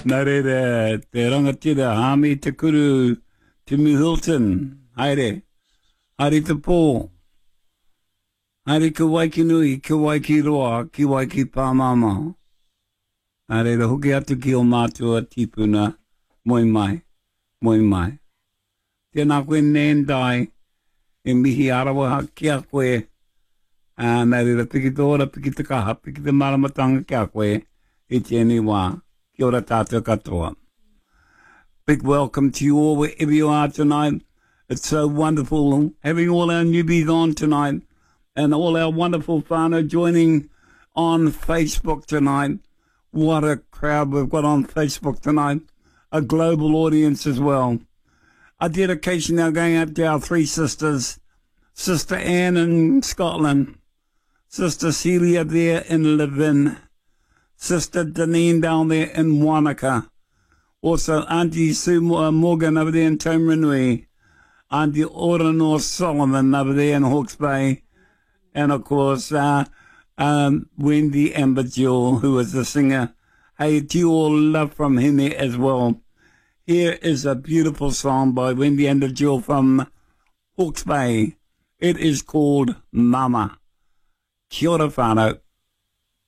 Nā reira, te rangatira Hāmi Te Kuru Timu Hilton, haere, haere te pō, haere ki Waikinui, ki Waikiroa, ki Waikipāmāmā. Nā reira, hoki atu ki ō mātua tīpuna, moe mai, moe mai. Tēnā koe Nandai, e mihi arawaha ki a koe. Ā, nā reira, piki te ora, piki te kaha, piki te māramatanga ki a koe i tēnei wā. Kia ora tātou katoa. Big welcome to you all wherever you are tonight. It's so wonderful having all our newbies on tonight and all our wonderful whānau joining on Facebook tonight. What a crowd we've got on Facebook tonight. A global audience as well. A dedication now going out to our three sisters, Sister Anne in Scotland, Sister Celia there in Levin, Sister Deneen down there in Wanaka, also Auntie Sue uh, Morgan over there in Taumarunui, Auntie Orano Solomon over there in Hawke's Bay, and of course uh, um, Wendy Amber Jewell, who is the singer. Hey, to you all love from him as well. Here is a beautiful song by Wendy Amber Jewell from Hawke's Bay. It is called Mama. Kia ora whānau.